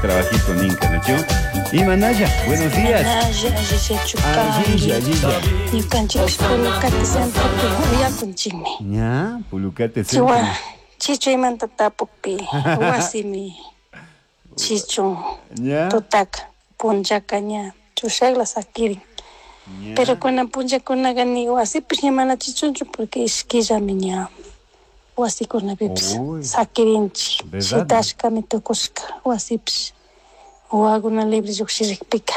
trabajito ninka, nachu? Imanalla, buenos días. Allilla, Allilla, allilla. Ñukanchikpish Pulucate centropi uyakunchikmi. Ña, Pulucate centro. Chiwa, chichuymanta tapukpi wasimi chichun Ña. tutaka punllaka ña chushakla sakirin. Ña. Pero kunan punllakunaqa ni wasipish ña mana chichunchu porque ishkillami ña wasikunapipish Uy. sakirinchik. ¿Verdad? Shitashkami tukushka wasipish wawakuna libre llukshirikpika.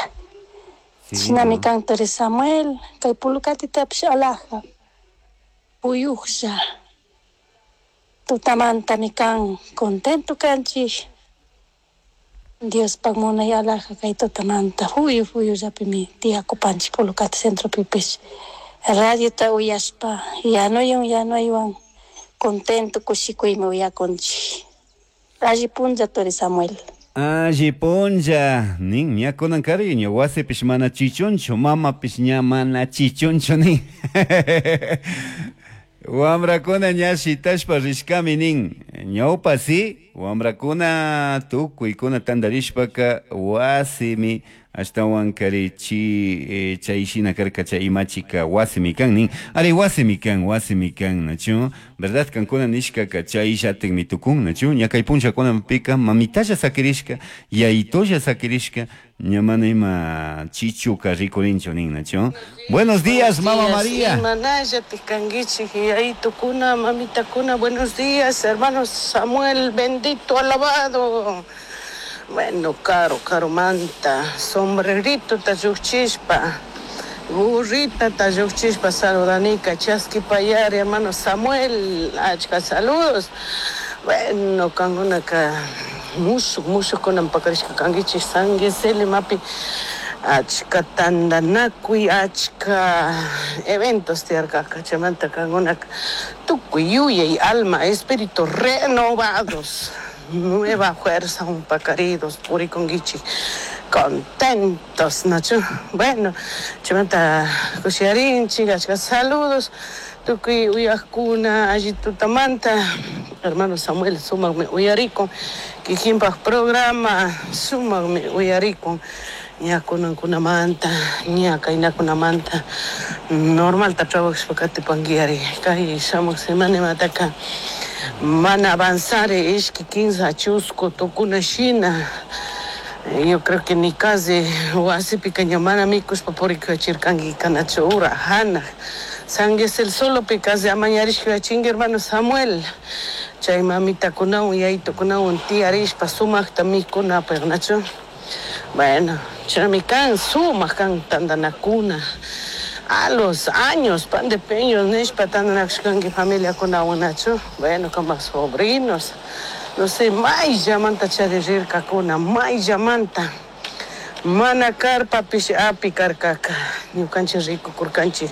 Sí, Shinami ¿no? kan turi Samuel, kay Pulucatitapish alaja, puyuklla, tutamantami kan contento kanchik. Diospak munay alaja kay tutamanta fuyu fuyullapimi tiyakupanchik Pulucate centropipish. Radiota uyashpa yanuywan yanuywan contento kushikuymi uyakunchik. Alli punlla turi Samuel. Alli punlla, nin, ña kunan cariño, wasipish mana chichunchu, mamapish ña mana chichunchu nin. Wamrakuna ña shitashpa rishkami nin. Ñawpa si, wamrakuna tukuykuna tantarishpaka wasimi ashtawan kari chi chay shina karka chay imachika wasimi kan nin. Ari wasimi kan, wasimi kan, nachu? ¿Verdad? Kankuna nishkaka chayllatikmi tukun, nachu? Ña kay punllakunapika mamitalla sakirishka, yayitolla sakirishka, ña mana ima chichuka rikurinchu nin, nachu? Buenos días, mama días, María. Imanalla tikanguichik, yayitukuna, mamitakuna, buenos días, hermano Samuel, bendito, alabado. Bueno, caro, caro manta, sombrerito tayuchispa, burrita tayuchispa, saludanica, chasqui payari, hermano Samuel, achka saludos. Bueno, kangunaka, mushuk, mushuk kunan pakarishka kanguichik, sangueseli mapi, achka tandanakuy, achka eventos tiyarkaka, chaymanta kangunaka, tukuy yuyay, alma, espíritu renovados, nueva fuerza, pacaridos, purikunguichik, contentos, nachu. Bueno, chaymanta kushiyarinchik, achka saludos, tukuy uyakuna, alli tutamanta, hermano Samuel, sumakmi uyarikun, kikinpak programa, sumakmi uyarikun, ña kunankunamanta, ña kaynakunamanta, normalta trabajashpa katipanguiari, kay shamuj semana mana avanzar ishki kinsa chusku tukuna shina. Yo creo que ni casi wasipika ña mana mikushpa purikuchirkanki kanachu ura hanaj. San el solo casi amañarishka chingue hermano Samuel. Chay mamitakunawan yayitukunawan tiyarishpa sumakta mikunapaq nachu. Bueno, chaymi kan sumak kan tantanakuna. A los años, pan de peños, nishpa tantanakushkanki familiakunawan nachu. Bueno, como sobrinos. No sé, mayllamanta charirkakuna, mayllamanta. Mana karpapish api karkaka, ñukanchik rikukurkanchik,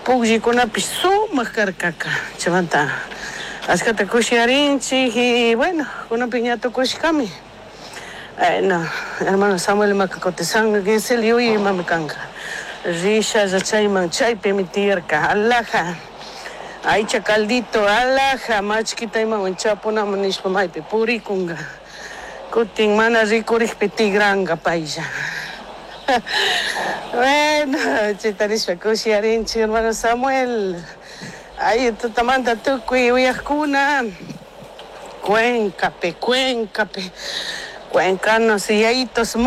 pukllikunapish sumak karkaka. Chaymanta ashkata kushiyarinchik y bueno, kunanpi ña tukushkami. Bueno, hermano Samuel maka kutin San Gisel yuyaymanmi kanka. Rishalla chayman chaypimi tiyarka, alaja. Aycha caldito, alaja, machkita imawan chapunaman nishpa maypi purikunka. Kutin mana rikurikpi tigranka paylla. Bueno, chayta nishpa kushiyarinchik hermano Samuel. Ay, tutamanta tukuy uyakuna. Cuencape, cuencape. Cuencanos y yayitos.